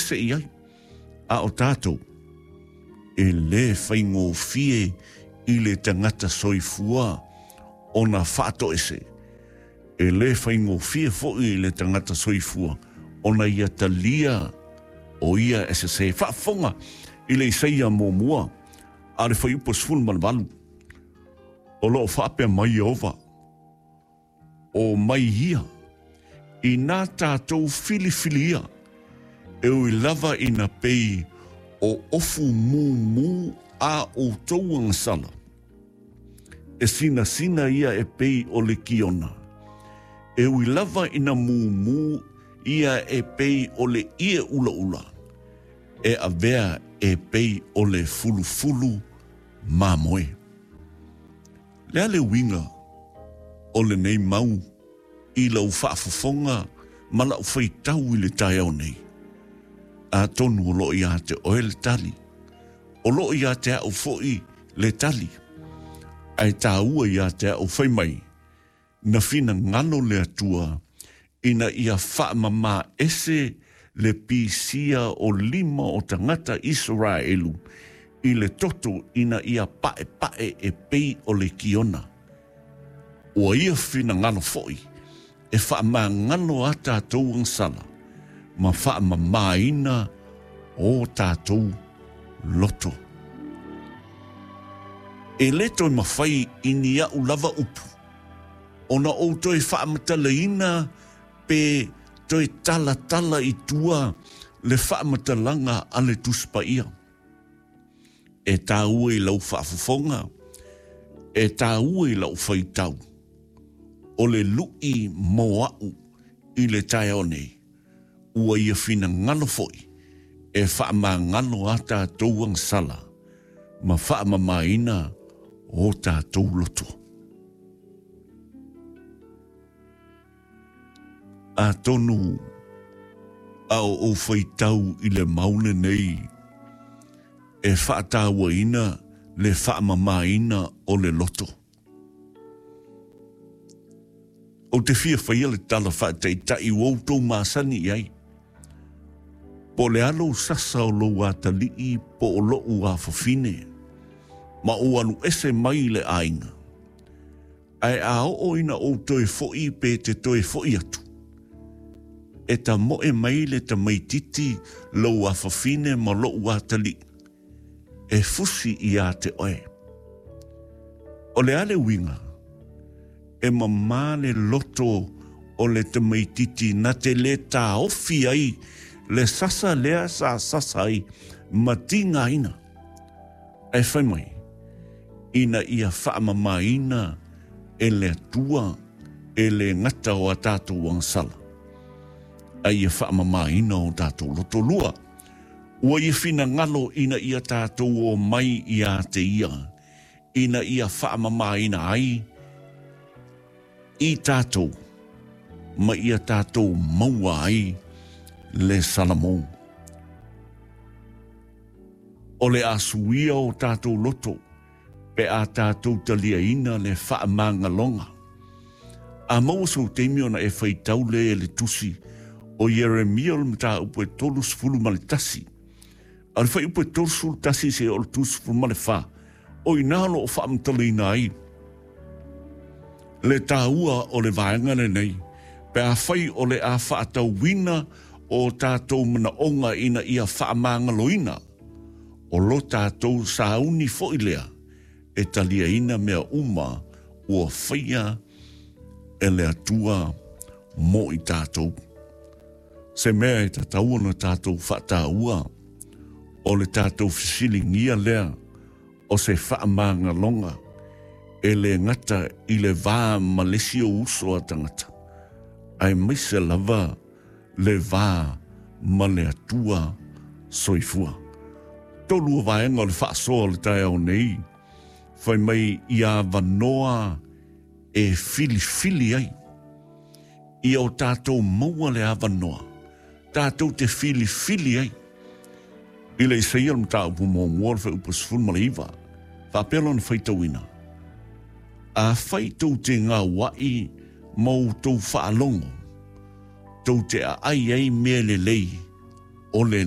faatoese i ai. A o tatou, e lē faigofie i le tagata soifua ona faatoese, e lē faigofie foi i le tagata soifua ona ia talia o ia e sesē. Faafofoga i le Isaia muamua a le Fuaiupu 18, o lo o faapea mai Ieova, O mai ia, inā tātou filifilia, e ui lava ina pei o ofu mūmū a outou agasala, e sinasina ia e pei o le kiona, e ui lava ina mūmū ia e pei o le ʻie ʻulaʻula, e avea e pei o le fulufulu mamoe. Le a le uiga o lenei mau i lau faafofoga ma la'u faitau i le taeao nei? Atonu o lo'o iā te oe le tali, o lo'o iā te a'u fo'i le tali, ae tāua iā te a'u fai mai, Na finagalo le Atua ina ia faamamā ese le pisia o lima o tagata Isaraelu i le toto ina ia paepae e pei o le kiona. Ua ia finagalo foi e faamagalo a tatou agasala ma faamamāina o tatou loto. E le toe mafai i ni aʻu lava upu ona ou toe faamatalaina pe toe talatala i tua le faamatalaga a le Tusi Paia. E tāua i lau faafofoga, e tāua i lau faitau, o le luʻi mo aʻu i le taeao nei, ua ia finagalo foi e faamagalo a tatou agasala ma faamamaina o tatou loto. Atonu a o ou faitau i le mau lenei e faatauaina le faamamaina o le loto. Ou te fia faia le tala faataitai ua outou masani i ai. Po o le a lou sasa o lou atalii po o loʻu afafine, ma ou alu ese mai i le aiga, ae a oo ina ou toe foʻi pe te toe foʻi atu, e tamoe mai le tamaititi lou afafine ma loʻu atalii, e fusi iā te oe. O le a le uiga? E mamā le loto o le tamaititi na te lē taofi ai le sasa lea sa sasa ai ma tigaina. Ae fai mai, ina ia faamamāina e le Atua e lē gata o a tātou agasala, a ia faamamāina o tātou loto lua. Ua ia finagalo ina ia tātou o mai iā te ia, ina ia faamamāina ai i tātou, ma ia tātou maua ai le Salamo. O le a suia o tātou loto, pe a tātou taliaina le faamagaloga. A maua sou taimi ona e faitau lea i le tusi o Ieremia o le mataupu e 31, a o le fuaiupu e 31 seia o le 34, o i ina o lo o faamatalaina ai le taua o le vaega lenei, pe afai o le a faatauina o tatou manaoga ina ia faamagaloina, O lo tatou sauni foi lea e taliaina mea uma ua faia e le Atua mo i tatou. Se mea e tatau ona tatou faataua, o le tatou fesiligia lea o se faamagaloga e le gata i le va ma le isi ou uso a tagata, aemaise lava le va ma le Atua soifua. Tolua vaega o le faasoa o le taeao nei, fai mai ia avanoa e filifili ai. Ia o tatou maua le avanoa, tatou te filifili ai. I le Isaia le mataupu muamua o le fuaiupu 19, faapea lona faitauina, Afai tou te gauaʻi ma outou faalogo, tou te aʻai ai mea lelei o le.